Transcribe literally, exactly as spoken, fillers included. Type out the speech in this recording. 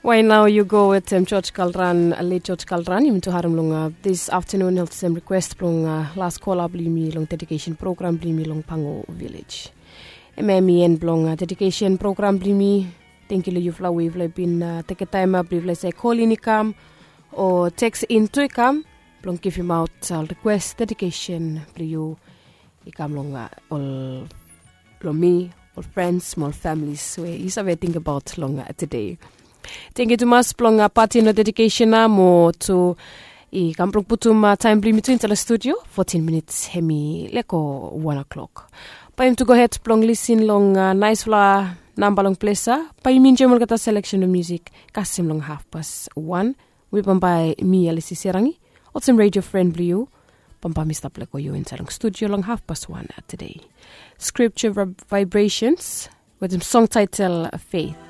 Wae nao yu go wetem George Kalran, let George Kalran yumi tu harim long dis aftenun olsem rikwes blong las kola blong yumi long dedikesen program blong yumi long Pango Vilej. Em em i en blong dedikesen program blong yumi. Tengiu long yufala we yufala i bin tekem taem blong yufala i save kolin i kam o teks in tu i kam blong givimaot ol rikwes dedikesen blong yu i kam long ol long mi, ol frens mo ol familis we yu save tingbaot long tede. Tengiu tumas blong patin long dedikesen ya mo tu i kam blong putum taem blong yumi tu insaed long studio. Fotin minits hem i lego wan o'klok. Bae yumi tu gohed blong lisin long naesfala namba long ples ya. Bae yumi enjoem olgeta seleksen blong musik kasem long hafpas wan. We bambae mi Alisi Serangi olsem redio fren blong yu. Bambae mi stap lego yu insaed long studio long hafpas wan tede. Scripture Vibrations wetem song taetel Faith.